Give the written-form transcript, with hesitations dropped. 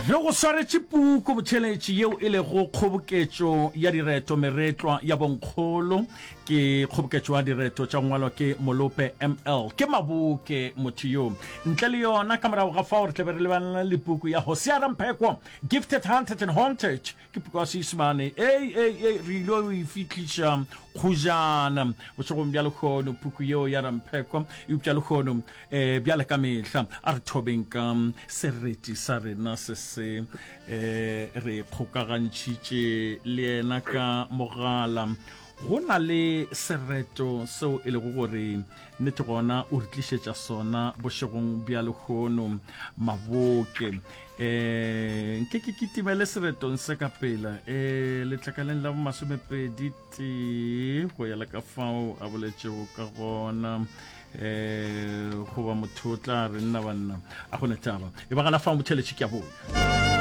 Re go swaretše puku botheletši yeo e lego kgoboketšo ya direto Meretlwa ya Bonkgolo. Ke kgoboketšo ya direto tša go ngwalwa ke Molope ML. Ke Maboke motho yo. Ntle le yona, ka morago ga fao re tla be re lebana le puku ya Hosea Ramphekwa, Gifted, Hunted and Haunted. Ke puku ya Seisemane. Ei, ei, ei, re ile go e fihliša kgojana bošegong bja lehono, puku yeo ya Ramphekwa. Eupša lehono E, bjale ka mehla a re thobeng ka sereti sa rena se se e, re kgokagantšhitše le yena ka mogala. Go na le sereto seo e lego gore nnete gona o re tlišetša sona bošegong bja lehono Maboke. E, nke ke kitimele seretong se ka pela e, letlakaleng la bomasomepedi tee go ya le ka fao a boletšego ka gona um goba motho o tla re nna banna a gona taba e bagana fao motheletše ke a boya.